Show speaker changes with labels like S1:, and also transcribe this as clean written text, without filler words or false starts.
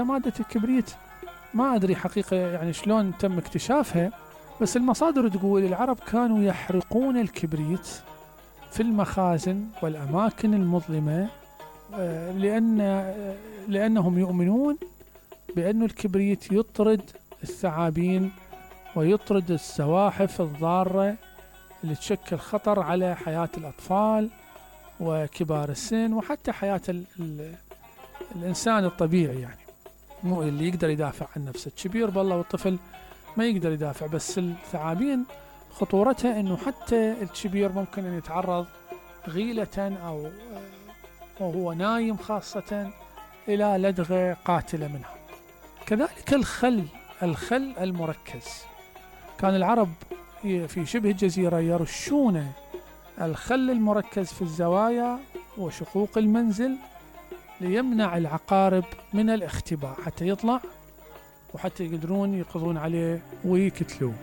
S1: مادة الكبريت ما أدري حقيقة يعني شلون تم اكتشافها، بس المصادر تقول العرب كانوا يحرقون الكبريت في المخازن والأماكن المظلمة، لأنهم يؤمنون بأن الكبريت يطرد الثعابين ويطرد الزواحف الضارة اللي تشكل خطر على حياة الأطفال وكبار السن وحتى حياة الإنسان الطبيعي، يعني مو اللي يقدر يدافع عن نفسه. الكبير بالله والطفل ما يقدر يدافع، بس الثعابين خطورتها انه حتى الكبير ممكن ان يتعرض غيلة او وهو نايم خاصة الى لدغة قاتلة منها. كذلك الخل المركز، كان العرب في شبه الجزيرة يرشون الخل المركز في الزوايا وشقوق المنزل ليمنع العقارب من الاختباء، حتى يطلع وحتى يقدرون يقضون عليه ويقتلوه.